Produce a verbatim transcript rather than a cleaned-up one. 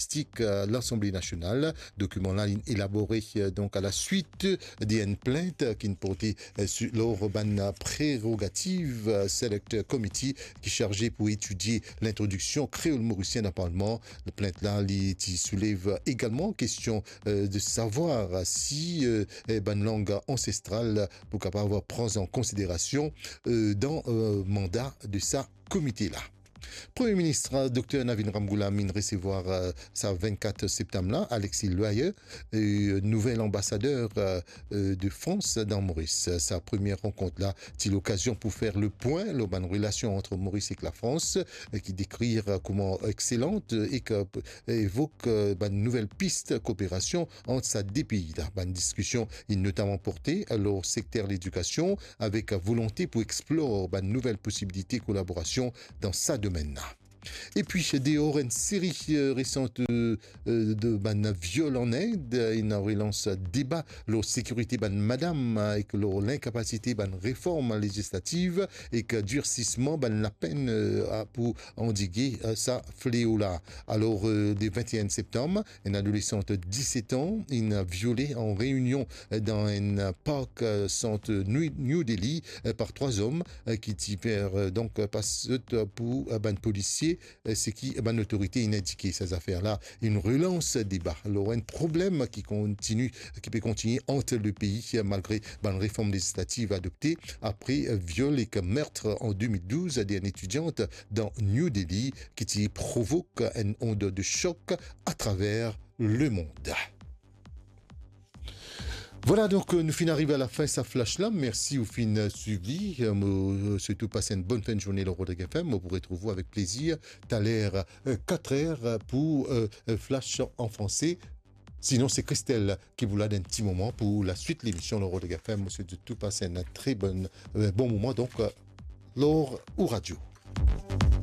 Logistik, euh, Lasanble Nasional. Dokiman la, inn elabore, euh, donk, a la swit de enn plint, euh, ki'nn porte, euh, si, lor bann prerogativ, euh, Select Committee ki sarze pou etidie lintrodiksion kreol morisien dan Parlman. Plint la, li ti soulev egalman kestion, euh, de savwar si, euh, eh, bann lang ansestral pou kapav pran an konsiderasion, euh, dan, euh, manda de sa komite la. Premie Minis, euh, Dokter Navin Ramgoolam, inn resevwar, euh, sa vennkat septam la, Alexis Loyer, euh, nouvel anbasader, euh, euh, de Frans dan Moris. Sa premie rankont la ti lokazion pou fer lepwin lor bann relasion ant Moris ek Lafrans, euh, ki dekrir, euh, kouma exselant, euh, ek, euh, evok, euh, bann nouvel pis kooperasion ant sa de pei la. Bann diskision inn notaman porte lor sekter ledikasion, avek volonte pou explor bann nouvel posibilite kolaborasion dan sa domenn la. Epi, deor enn seri, euh, resan, euh, euh, de bann viol an Ind, euh, ena relans deba lor sekirite bann madam, euh, ek lor linkapasite bann reform lezislativ ek dirsisman bann lapenn, euh, a, pou andige, euh, sa fleo la. Alor, euh, le vennteen septam, enn adolesan diset an inn viole an reinion, euh, dan enn park, euh, sant New, New Delhi, euh, par trwa zom, euh, ki ti fer, euh, donk, euh, pas zot, euh, pou, euh, bann polisie, euh, seki, euh, bann lotorite inn indike. Sa zafer la inn relans deba lor enn problem ki kontini, ki pe kontigne ant le pei, euh, malgre bann reform lezislativ adopte apre, euh, viol ek meurtre an de mil douz de enn etidiant dan New Delhi, ki ti provok enn ond de sok atraver lemond. Vwala, donk, euh, nou finn arive a lafin sa flash la. Mersi ou finn, euh, swiv li. Euh, mo, euh, sirtou pas enn bonn fin de zourne lor Rodrig F M. Mo pou retrouv ou avek plezir taler, euh, katr er pou, euh, euh, flash an franse. Sinon, se Christelle ki pou la dan enn ti moman pou laswit lemision lor Rodrig F M. Mo sirtou pas enn tre bonn, euh, bon moman. Donk, euh, lor ou radio.